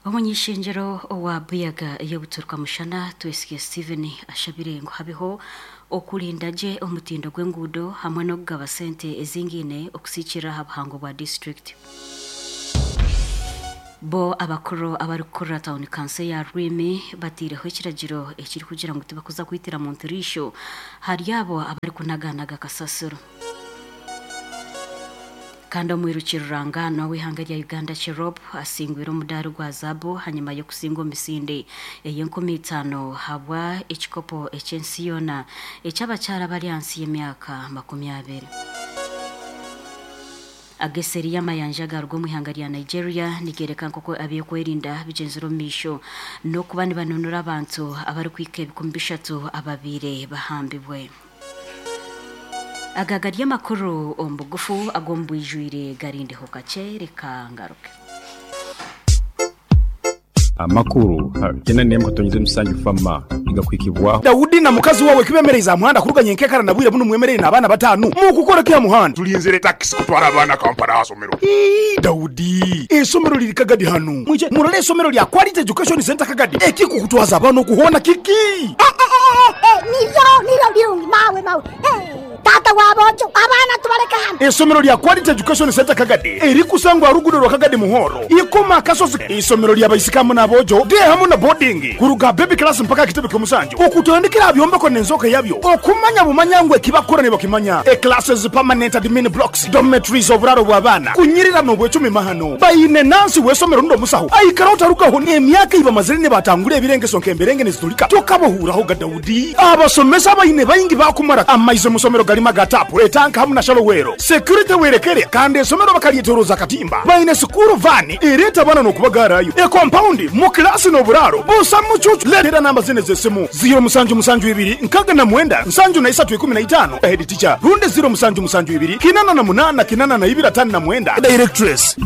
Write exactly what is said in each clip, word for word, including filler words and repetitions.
Omunyishengyero owa Buyaga ey'obuturuka mushana, Twesige Steven, ashabire ngu habeho okurinda gye omutindo gw'enguudo hamwe n'okugaba sente ezingaine okusiikirira aha buhango bwa disiturikiti. Bo abakuru abarikukurira tawuni kanso ya Rwimi bataireho ekiragiro ekirikugira ngu tibakuza kwitira muntu riisho hari abo abarikunaganaga kasasiro. Kandi omwiruki ruranganwa w'eihanga rya Uganda Cherop asingwire omudaari gwa zaabu hanyuma y'okusinga omu misinde ey'enkumi itaano habwa ekikopo eky'ensi yoona eky'abakyara abari ahansi y'emyaka makumi abiri. Ageseri y'amayanja agaruga omu ihanga rya Nigeria nigereka nk'oku ebyokwerinda bigyenzire omu maisho n'okuba nibanunura abantu abarikuhika ebikumi bishatu ababaire bahambibwe. Aga gari amakuru omu bugufu ag'omu bwijwire, garindeho kakye, reka ngaruke. Amakuru kyenda n'emwe katonyeze musanju fama nigakwikibwaho. Daudi na mukazi wawe kibemereize aha muhanda kuruga nyenkekara na bwire buno mwemereire n'abaana bataano mukukora ki aha muhanda? Tulinzire takisi kutwara abaana Kampala aha somero. Ii, Daudi, esomero liri Kagadi hanu. Mwije murole esomero lya Quality Education Center Kagadi. Ekikukutwaza abaana okuhoona kiki? Niryo niryo birungi mawe mawe. Tata w'aboojo, abaana tubaleka hano. Esomero lya Quality Education Center Kagadi erikusangwa rugudo rwa Kagadi Muhoro ikoma akasozi. Isomero lya baisikamu n'aboojo de hamu na boarding kuruga baby class mpaka kitebe ky'omusanju okutandikira byombeko n'enzoka yabyo okumanya bumanya ngu ekibakora nibakimanya. E classes, permanent admin blocks, dormitories, oburaro bw'abaana kunyirira n'obwecumi mahano. Baine nansi w'esomero ndo musaho aikara otarugaho n'emyaka ibamazire nibatangura ebirengeso nk'emberenge nizitulika tokabohuraho ga Daudi. Abasomesa baine baingi bakumara amaizi mu somero galima gatapu etanka hamu na shalowero security werekere, kandi esomero bakalyetoroza katimba. Baine sukuru vani ereta abana n'okubagarayo, e compound mu kilasi n'oburaro busa mucucu. Letera namba zine z'esimu: ziro musanju musanju ibiri nkaga na mwenda nsanju na isatu ikumi na itano, head teacher, runde ziro musanju musanju ibiri kinana na munana kinana na ibiri atano na mwenda, directress.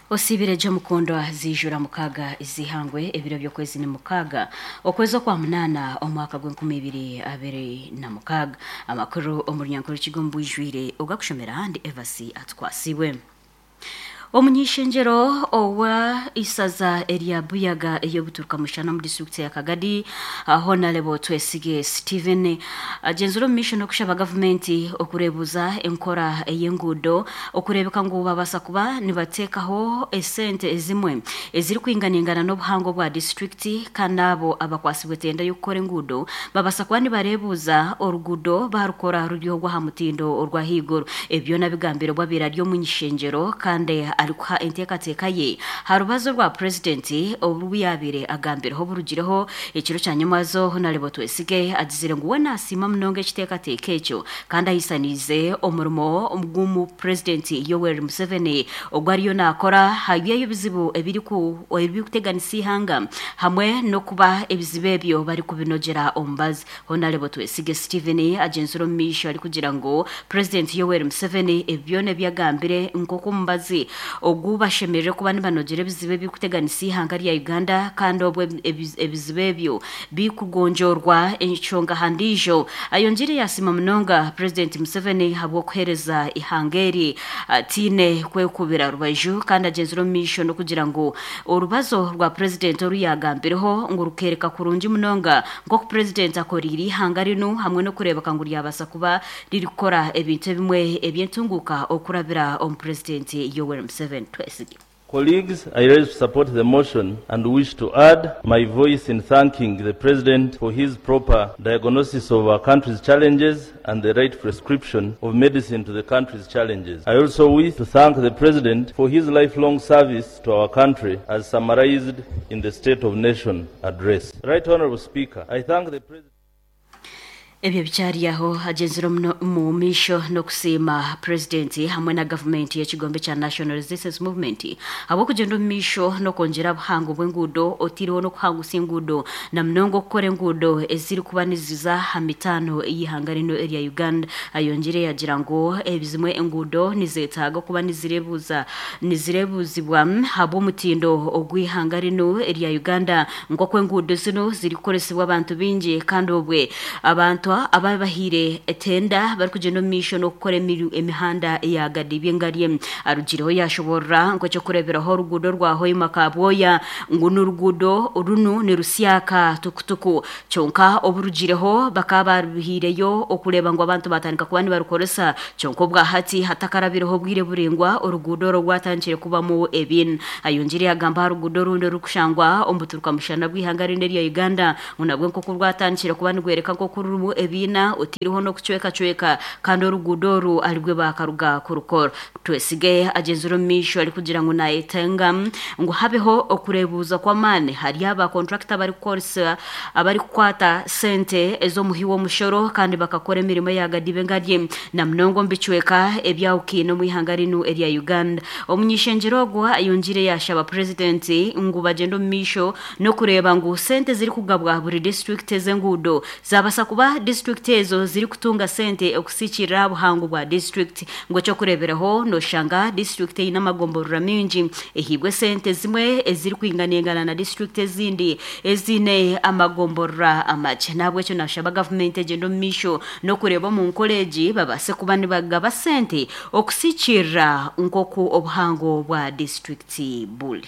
Osibire jo mukundwa, zijura mukaga izihangwe, ebiro by'okwezi ni mukaaga okwezi okwa munaana omwaka gw'enkumi ibiri abiri na mukaaga. Amakuru omu runyankore kigo mbwijwire ogakushomera handi Evasi Atwasiwe. Omunyishengyero owa isaza erya Buyaga ey'obuturuka mushana mu disitulikiti ya Kagadi, Honorable Twesige Steven, agenzire omu maisho n'okushaba gavumenti okureebuza enkora ey'enguudo okureebeka ngu babaasa kuba nibateekaho esente ezimwe ezirikwinganingana n'obuhango bwa disitulikiti, kandi abo abakwasibwe tenda y'okukora enguudo babaasa kuba nibareebuza oruguudo barukora ruri ogw'aha mutindo orw'ahaiguru. Ebyo nabigambire bwabire ari omunyishengyero kandi arikuha enteekateeka ye ha rubazo rwa purezidenti obu yaabire agambireho burugireho ekiro kya nyamwazo. Honorable Twesige agizire ngu we nasiima munonga ekiteekateeko ekyo kandi ahisaniize omurimo gw'omu purezidenti Yoweri Museveni ogwo ariyo naakora habyeyo ebizibu ebiriku ebirikuteganisa ihanga hamwe n'okuba ebizibu ebyo barikubinogera omubazi. Honorable Twesige Steven agenzire omu maisho arikugira ngu purezidenti Yoweri Museveni ebi byona ebi agambire nk'oku omubazi ogu bashemerere kuba nibanogera ebizibu ebirikuteganisa ihanga rya Uganda, kandi obwo ebi- ebizibu ebyo bikugonjorwa enshonga handiijo. Ayongire yasiima munonga purezidenti Museveni habw'okuheereza ihanga eri atiine kwekubira rubaju, kandi agenzire omu maisho n'okugira ngu orubazo rwa purezidenti oru yagambireho ngu rukereka kurungi munonga nk'oku purezidenti akoriire ihanga rinu hamwe n'okureebeka ngu ryabaasa kuba ririkukora ebintu ebimwe eby'entunguuka okurabira omu purezidenti Yoweri Museveni. Twesige. Colleagues, I rise to support the motion and wish to add my voice in thanking the President for his proper diagnosis of our country's challenges and the right prescription of medicine to the country's challenges. I also wish to thank the President for his lifelong service to our country as summarized in the State of Nation address. Right Honorable Speaker, I thank the President. Ebyo bikyari aho, agenzire omuno- mu maisho n'okusiima purezidenti hamwe na gavumenti y'ekigombe kya National Resistance Movement habw'okugyenda omu maisho n'okwongyera obuhango bw'enguudo, otaireho n'okuhangusa enguudo na munonga okukora enguudo ezirikuba niziza aha mitaano y'ihanga rino erya Uganda. Ayongire yagira ngu ebizimwe enguudo nizetaaga okuba nizireebuza nizireebuzibwa habw'omutindo ogw'ihanga rino erya Uganda, nk'oku enguudo zino zirikukoresibwa abantu baingi kandi obwe abantu abantu ababahire etenda barikugenda omu maisho n'okukora emihanda ya Gadibi Ngarye. Arugireho yashoborora nk'ekyokureeberaho oruguudo rwa Hoima Kabwoya ngu n'oruguudo runu nirusyaka tukutuku, kyonka oburugireho bakaba baruhiireyo okureeba ngu abantu batandika kuba nibarukoresa, kyonka obwahati hatakarabireho obwire buringwa oruguudo orwo rwatandikire kubamu ebin. Ayongire yagamba aha ruguudo orundi orukushangwa omu buturuka mushana bw'ihanga rindi erya Uganda ngu nabwo nk'oku rwatandikire kuba nigwereka nk'oku rurimu ebiina otiriho n'okucwekacweka kandi oruguudo oru aribwe bakaruga kurukora. Twesige agenzire omu maisho arikugira ngu nayetenga ngu habeho okureebuuza kw'amaani hari aba contractor abarikukoresa abarikukwata sente ez'omuhi w'omushoro kandi bakakora emirimo ya Gadibe Ngarye na munonga omu bicweka ebyawukiine omu ihanga rinu erya Uganda. Omunyishengyero ogwo ayongire yashaba purezidenti ngu bagyende omu maisho n'okureeba ngu sente zirikugabwa buri district ez'enguudo zabasa kuba district ezo zirikutunga sente okusikirira buhango bwa district. Ngu ekyokureeberaho noshanga district eine amagomborora mingi ehiibwe sente zimwe ezirikwinganengana na district ezindi eziine amagomborora amakye. Nahabwekyo nashaba gavumenti egyende omu maisho n'okureeba omu nkora egi babaase kuba nibagaba sente okusikirira nk'oku obuhango bwa district buri.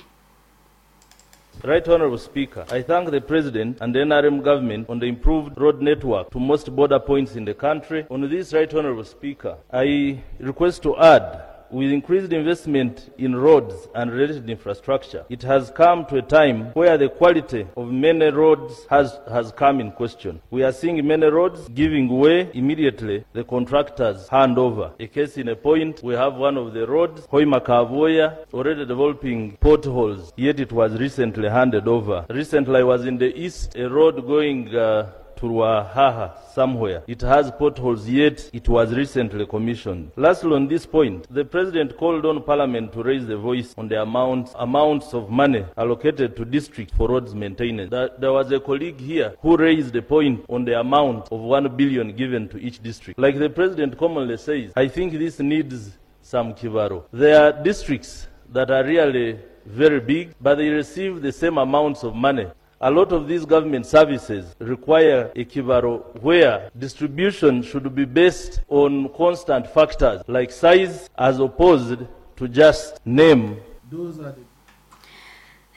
Right Honorable Speaker, I thank the President and the N R M government on the improved road network to most border points in the country. On this, Right Honorable Speaker, I request to add, with increased investment in roads and related infrastructure, it has come to a time where the quality of many roads has, has come in question. We are seeing many roads giving way immediately the contractors hand over. A case in a point, we have one of the roads, Hoima Kaboya, already developing potholes, yet it was recently handed over. Recently I was in the east, a road going uh, to Ruahaha somewhere. It has potholes, yet it was recently commissioned. Lastly, on this point, the President called on Parliament to raise the voice on the amount, amounts of money allocated to districts for roads maintenance. There, there was a colleague here who raised the point on the amount of one billion given to each district. Like the President commonly says, I think this needs some kibaro. There are districts that are really very big, but they receive the same amounts of money. A lot of these government services require a kibaro where distribution should be based on constant factors like size as opposed to just name. Those are the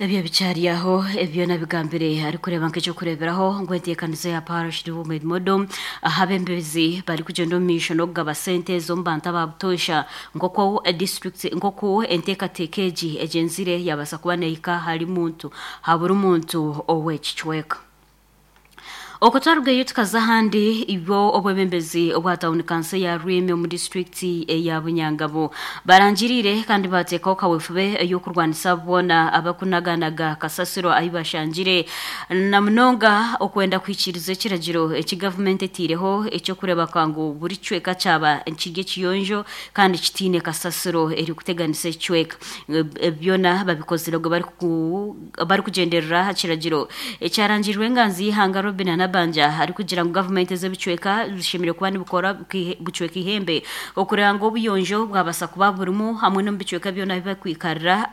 Ebyo bicyari aho ebyo nabigambire ari kureba nk'icyo kureberaho ngo enteekanizo ya parish development model ahabembezi bari kugenda omu maisho n'okugaba sente z'omu bantu ababutosha nk'oku district nk'oku enteekateeka egi egyenzire yabasa kuba nehika hari muntu haburi muntu ow'ekicweka. Okutwarugayo tukaza ahandi ibyo obwebembezi obwa town council ya Rwimi omu district ya Bunyangabo barangirire kandi bateekaho kawefube y'okurwanisa boona abakunaganaga kasasiro ahi bashangire na munonga okwenda kwikiriza ekiragiro eki gavumenti etiireho ekyokureba ngu buri kicweka kyaba kiri ekiyonjo kandi kitiine kasasiro erikuteganisa ekicweka. Byona babikozire obwo barikugenderera aha kiragiro ekyarangirwe enganzi y'ihanga Robin Banja ari kugira ngu gavumenti z'ebicweka zishemire kuba nibukora bucweka ihembe okureba ngu obuyonjo bwabasa kuba burimu hamwe n'omu bicweka byona bibakwikarira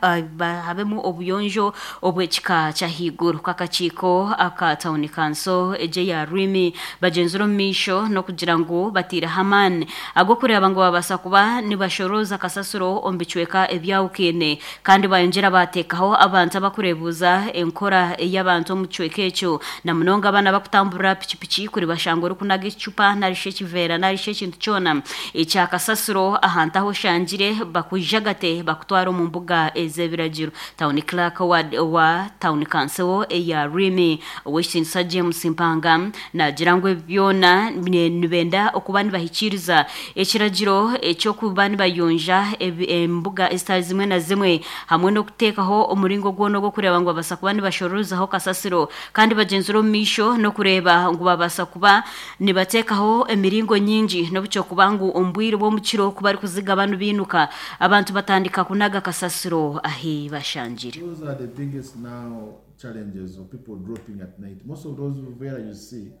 habemu obuyonjo obw'ekika ky'ahaiguru. Kakakiiko aka town council egye ya Rwimi bagyenzire omu maisho n'okugira ngu batiireho amaani ag'okureba ngu babasa kuba nibashorooza kasasiro omu bicweka ebyawukiine kandi bayongyera bateekaho abantu abakureebuuza enkora ey'abantu omu kicweka ekyo na munonga abaana bakutambura pikipiki kuri bashanga orikunaga ekicupa narishi ekiveera narishi ekintu kyona ekyakasasiro ahantu aho oshangire bakujagate bakutwara omu mbuga ez'ebiragiro. Town clerk wa, wa town council eya Rwimi ow'ekitinisa James Mpanga nagira ngu byona nibenda okuba nibahikiriza ekiragiro ekyokuba nibayonja embuga ezitari zimwe na zimwe hamwe n'okuteekaho omuringo gwona ogw'okureeba ngu babasa kuba nibashoroozaho kasasiro kandi bagyenzire omu maisho n'okureeba ngu babasa kuba nibateekaho emiringo nyingi n'obukyokuba ngu omu bwire bw'omukiro ku barikuziga banu biinuka abantu batandika kunaga kasasiro ahi bashangire. Those are the biggest now challenges of people dropping at night. Most of those where you see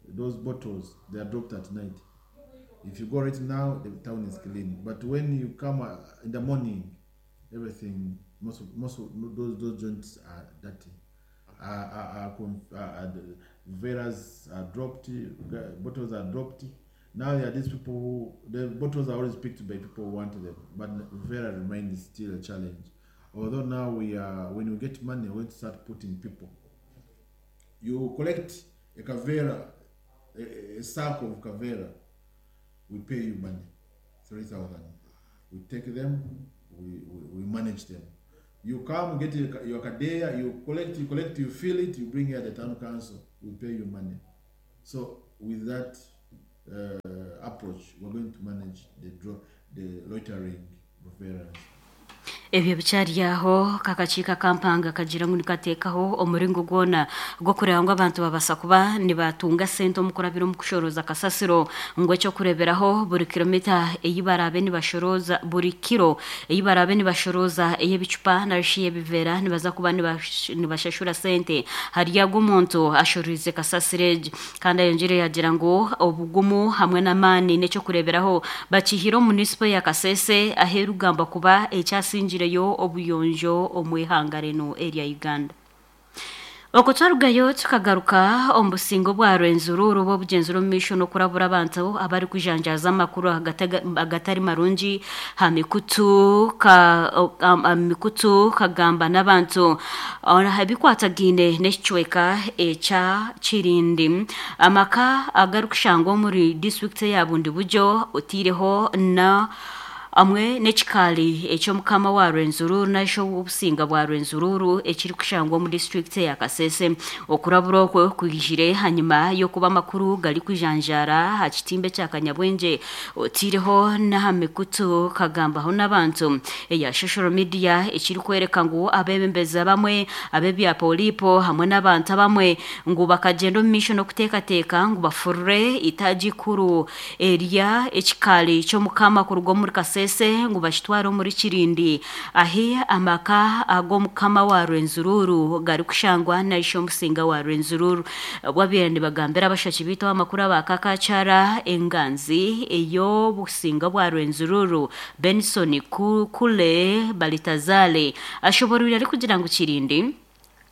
those bottles, they are dropped at night. If you go right now, the town is clean. But when you come in the morning, everything, most of, most of those, those joints are dirty. are, are, are, are, are veras are dropped, bottles are dropped. Now there are these people who, the bottles are always picked by people who want them, but Vera remains still a challenge. Although now we are, when we get money, we're going to start putting people. You collect a kavera, a, a sack of kavera, we pay you money, three thousand. We take them, we, we, we manage them. You come get your, your kadeya, you collect, you collect, you fill it, you bring it at the town council, we pay you money. So with that uh, approach, we're going to manage the, the loitering of veterans. Ebyo bicyaryaho kakachika kampanga kagira ngu nikatekaho omuringo gwona gwo kureba ngu abantu babasa kuba nibatunga sente omukurabira omu kushoroza kasasiro ngu ekyo kureberaho buri kilomita eyi barabe nibashoroza buri kiro eyi barabe nibashoroza ey'ebicupa narishi y'ebivera nibaza kuba nibashashura sente hariya gw'omuntu ashororize kasasiro egi kandi ayongere yagira ngu obugumu hamwe n'amaani n'ekyo kureberaho bakihire omu munisipo ya Kasese aherugamba kuba ekyasingireyo obuyonjo omwihanga rino erya Uganda. Okutwarugayo tukagaruka omu busingo bwa Rwenzururu bw'obugenzura omu maisho n'okurabura abantu abari kujanjaza amakuru agatari marungi ha mikutu ka mikutu kagamba n'abantu ebikwatagaine n'ekicweka ekya Kirindi amaka agarikushangwa omuri disitulikiti ya Bundibugyo otiireho na amwe n'ekikaali eky'omukama wa Rwenzururu nasho obusinga bwa Rwenzururu ekiri kushangwa mu district ya Kasese. Okurabura okwo kwijire hanyuma y'okuba amakuru gari kujanjara ha kitimbe kya Kanyabwenge otiireho n'aha mikutu kagambaho n'abantu eya social media ekiri kwereka ngu abebembezi bamwe ab'ebya polipo hamwe n'abantu abamwe ngu bakagenda omu maisho n'okuteekateeka ngu bafurure itaagi ikuru erya ekikaali ky'omukama kuruga omuri Kasese ngu bakitwara omuri Kirindi ahi amaka ag'omukama wa Rwenzururu gari kushangwa naisho omusinga wa Rwenzururu. Bwabiire nibagambira abashaki bitu amakuru abakakakyara enganzi ey'obusinga bwa Rwenzururu Benson Kule Balitazale ashoborwire ari kugira ngu Kirindi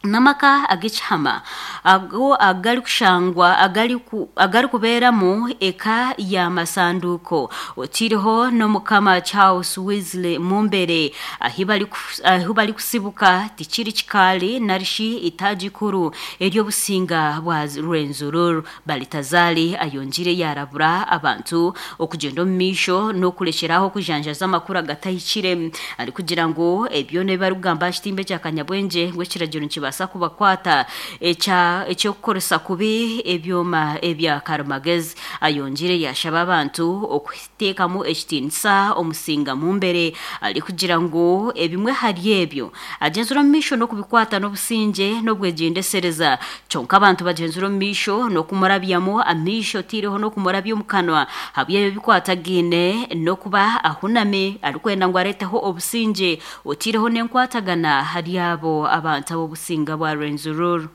namaka ag'ekihama ago agali kushangwa agali ku, agali kubeeramu eka ya masanduko otiriho n'omukama Charles Wesley Mumbere ahi bali ahi bali kusibuka tikiri kikaali narishi itaagi ikuru ery'obusinga bwa Rwenzururu. Balitazali ayongire yarabura abantu okugenda omu maisho n'okurekyeraho kujanjaza amakuru agatahikire ari kugira ngu ebyo nebibarikugamba aha kitimbe kya Kanyabwengye ngu ekiragiro nikibasa kubakwata ekya ekyokukoresa kubi ebyoma ebya karimagezi. Ayongire yashaba abantu okuteekamu ekitiinisa omusinga Mumbere ari kugira ngu ebimwe hari ebyo agenzura omu maisho n'okubikwata n'obusingye n'obwegyendesereza kyonka abantu bagenzura omu maisho n'okumurabyamu amaisho otiireho n'okumurabya omu kanwa habw'ebyo bikwatagaine n'okuba ahuname arikwenda ngu areeteho obusingye otiireho n'enkwatagana hari abo abantu ab'obusinga bwa Rwenzururu.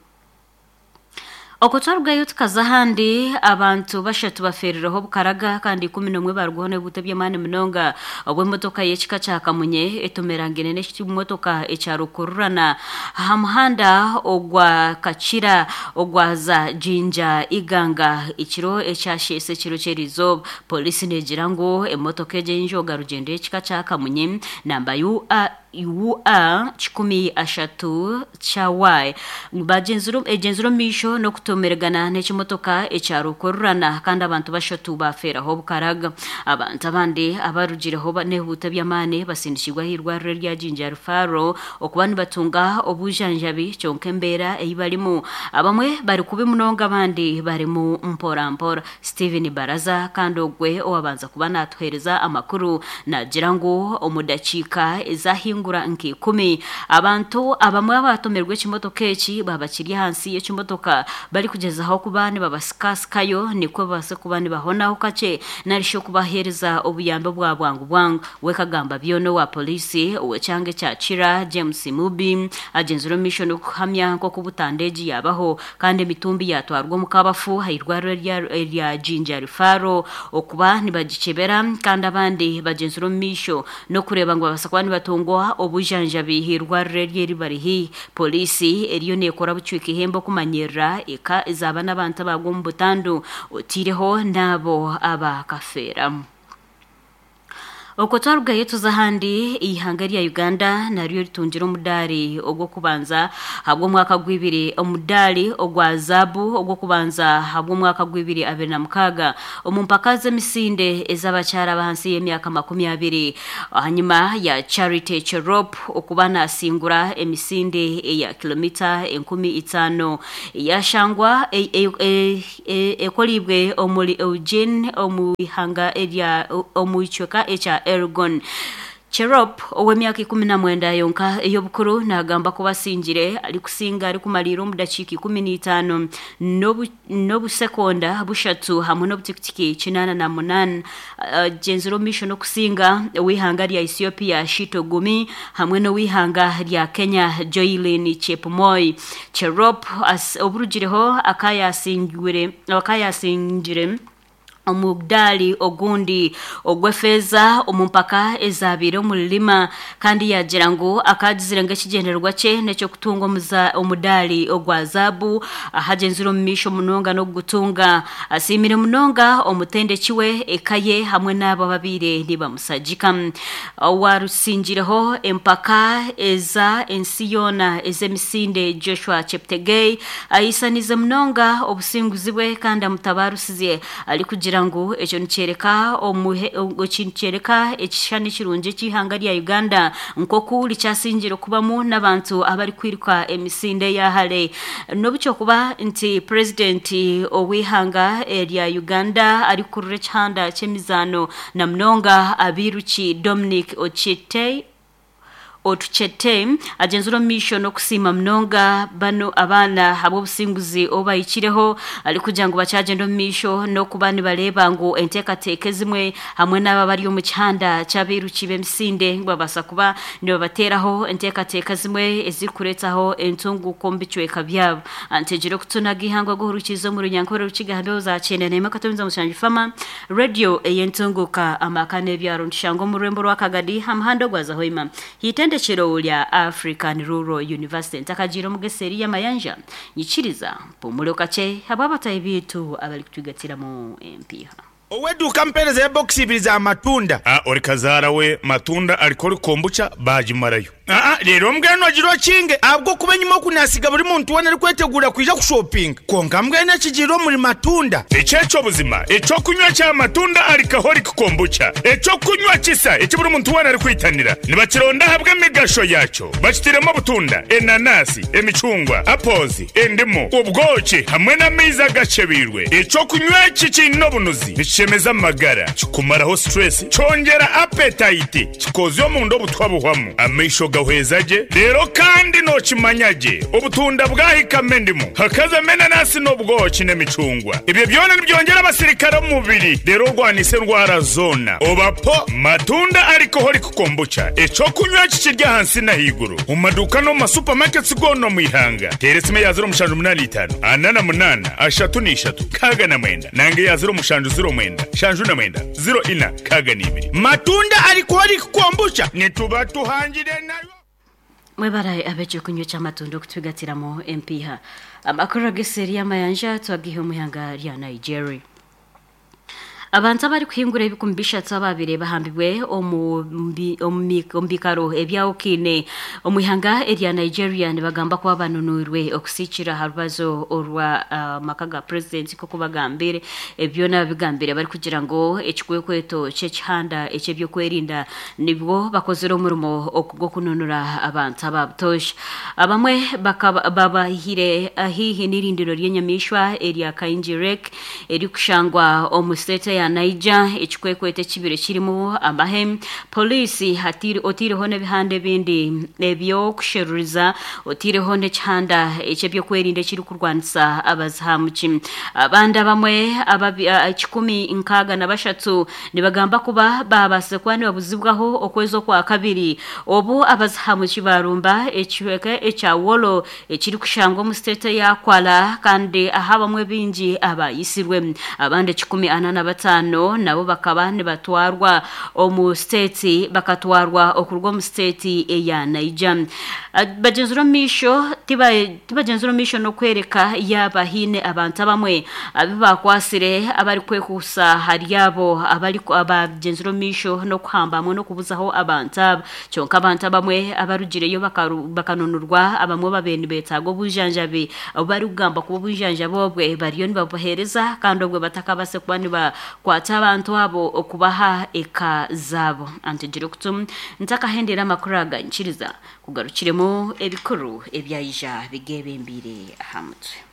Okutwarugayo tukaza ahandi abantu bashatu baferereho obukaraga kandi ikumi n'omwe barugwaho n'ebibuto by'amaani munonga obw'emotoka y'ekika kya Kamunye etomerangene n'ekimotoka ekya Rukururana aha muhanda ogwa Kakira ogwaza Jinja Iganga ekiro ekyasheese ekiro ky'erizooba. Polisi negira ngu emotoka egyo ey'enjoga rugyendo y'ekika kya Kamunye namba U A U A kikumi ashatu kya Y bagenzura egenzura omu maisho n'okutomeragana n'ekimotoka ekya Rukururana kandi abantu bashatu bafeeraho obukaraga. Abantu abandi abarugireho n'ebibuto by'amaani basindikirwa ah'irwariro rya Jinja Rufaro okuba nibatunga obujanjabi kyonka embeera ei barimu abamwe bari kubi munonga abandi barimu mpora mpora. Steven Baraza kandi ogwe owabanza kuba natuheereza amakuru nagira ngu omu dakiika ezahinga nk'ikumi abantu abamwe abatomerwa ekimotoka eki babakiri ahansi y'ekimotoka bari kugezaho kuba nibabasikasikayo nikwo babase kuba nibahonaho kakye narishi okubaheereza obuyambi bwa bwangu bwangu. Wekagamba byona owa polisi ow'ekyanga ekya Kira James Mubi agenzire omu maisho n'okuhamya nk'oku butanda egi yabaho kandi emitumbi yatwarwa omu kabafu ah'irwariro erya Jinja Rufaro okuba nibagikyebera kandi abandi bagenzire omu maisho n'okureeba ngu babasa kuba nibatungwa kuheebwa obujanjabi irwariro eryo eri bari haihi. Polisi eriyo neekora bucwika ihembe okumanyirira eka ezaaba n'abantu abagwa omu butandu otiireho n'abo abakafeeramu. Okwo twarugayo tuza ahandi, eihanga rya Uganda naryo ritungire omudaari ogw'okubanza ahabw'omwaka gw'ibiri, omudaari ogwa zaabu ogw'okubanza ahabw'omwaka gw'ibiri abiri na mukaaga omu mpaka z'emisinde ez'abakyara abahansi y'emyaka makumi abiri, ahanyuma ya Charity Cherop okuba nasingura emisinde eya kilomita enkumi itaano yashangwa ekolibwe omuri Eugene omu ihanga erya omu kicweka ekya Elgon. Cherop ow'emyaka ikumi na mwenda yonka ey'obukuru nagamba kuba asingire arikusinga arikumalira omu dakiika ikumi n'itaano n'obusekonda bushatu hamwe n'obutikitiki kinaana na munaana. Agyenzire omu maisho n'okusinga ow'eihanga rya Ethiopia Shito Gumi hamwe n'ow'eihanga rya Kenya Joylin Chepmoi. Cherop oburugireho akayasingire akayasingire omudaali ogundi ogw'efeeza omu mpaka ezabiire omu Lima, kandi yagira ngu akagizire ng'ekigyendererwa kye n'ekyokutunga omudaali ogwa zaabu ahagyenzire omu maisho munonga n'okugutunga. Asiimire munonga omutendeki we, eka ye hamwe n'abo ababiire nibamusagika. Owarusingireho empaka eza ensi yoona ez'emisinde Joshua Cheptegei ayisanize munonga obusinguzi bwe kandi amutabarusize arikugira ngu ekyo nikyereka nikyereka ekishushani kirungi eky'eihanga rya Uganda nk'oku rikyasingire kubamu n'abantu abarikwiruka emisinde ya hare. N'obukyokuba nti purezidenti ow'eihanga erya Uganda arikurura ekihanda ky'emizaano na munonga abiruki Dominic Ochete Otuchete agyenzire omu maisho n'okusiima munonga bano abaana ahabw'obusinguzi obu bahikireho, arikugira ngu bakyagenda omu maisho n'okuba nibareeba ngu enteekateeka ezimwe hamwe n'abo abari omu kihanda ky'abairuki b'emisinde ngu babaasa kuba nibabateeraho enteekateeka zimwe ezirikureetaho entunguuko omu bicweka byabo. Ntegire okutunaga eihangwe guhurukiza omu runyankore rukiga hambeho za kyenda n'emwe akatomiza mushanju Fama radio ey'entunguuka amaka n'ebyaro nitushanga omu rurembo rwa Kagadi aha muhanda ogwaza Hoima hitende Ekiro lya African Rural University. Ntakagira omugeseri y'amayanja nyikiriza mpumure kakye habw'abatayi biitu abarikutwigatiramu empiiha. Oweduka mpereza ebokisi ibiri za matunda. Ah, ori kazaara we matunda ariko ori kombucha bagimarayo. Ah, rero mbwenu agira okinge ahabw'okuba enyima okunasiga buri muntu weena arikwetegura kwija kushopinga, konka mbwenu ekigiire omuri matunda. Ekyekyo buzima ekyokunywa kya matunda alcoholic kombucha, ekyokunywa kisa eki buri muntu weena arikwitanira, nibakironda ahabw'emigasho yakyo. Bakitiremu obutunda, enanasi, emicungwa, apples, endimu, obwoki hamwe n'amaizi agakyebiirwe. Ekyokunywa eki kiine obunuzi, nikishemeza amagara, kikumaraho stress, kyongera appetite, kikozya omunda obutwa buhwamu, amaisho gahweza gye. Rero kandi nokimanya gye obutunda bwahikamo endimu, hakazamo enanasi n'obwoki n'emicungwa, ebyo byona nibyongera abasirikare omu mubiri, rero orwanisa endwara zoona. Obapo matunda alcoholic kombucha, ekyokunywa kikirya ahansi n'ahaiguru mu maduuka no mu masupamaketi goona omu ihanga. Teera esimu ya ziro mushanju munaana itaano ana na munaana ashatu n'ishatu kaaga na mwenda nange ya ziro mushanju ziro mwenda shanju na mwenda ziro ina kaaga n'ibiri. Matunda alcoholic kombucha nituba tuhangire nayo. Mwebara ab'ekyokunywa ky'amatunda okutwigatiramu empiiha. Amakuru ag'eseri y'amayanja twagiha omu ihanga rya Nigeria. Abantu abarikuhingura ebikumi bishatu ababire bahambibwe omu mbi- omu mi- omu bikaro ebyawukiine omu ihanga erya Nigeria nibagamba kuba banunurwe okusikira aha rubazo orwa ah, maka ga purezidenti nk'oku bagambire. Ebyona bigambire barikugira ngu ekikwekweto ky'ekihanda eky'ebyokwerinda nibwo bakozire omurimo gw'okununura abantu aba butoosha. Abamwe bakaba babahire haihi n'irindiro ry'enyamaishwa erya Kainji Lake erikushangwa omu state ya Niger. Ekikwekweto ekibire kirimu amahe, polisi hatiri otiireho n'ebihanda ebindi ebyokusheruriza, otiireho n'ekihanda eky'ebyokwerinda ekirikurwanisa abazihamuki. Abandi abamwe ababi- a- ekikumi nkaaga na bashatu nibagamba kuba babaasize kuba nibabuzibwaho okwezi okwa kabiri obu abazihamuki barumba ekicweka ekya Wolo ekirikushangwa omu state ya Kwara, kandi aho abamwe bingi abayisirwe. Abandi ekikumi ana na bataano n'ataano nabo bakaba nibatwarwa omu state bakatwarwa okuruga omu state eya Niger. Bagenzire omu maisho tibagenzire omu maisho n'okwereka yaaba haine abantu abamwe abu bakwasire abarikwekuusa hari abo abagenzire omu maisho n'okuhamba hamwe n'okubuzaho abantu aba. Kyonka abantu abamwe abarugireyo bakanunurwa, abamwe babaire nibeetaaga obujanjabi obu barikugamba kuba obujanjabi obwe bariyo nibabuheereza kandi obwe batakabaase kuba nibakwata abantu abo okubaha eka zaabo. Antegire okutu ntakahendera amakuru aga nkiriza kugarukiremu ebikuru ebyaija bigebembiire aha mutwe.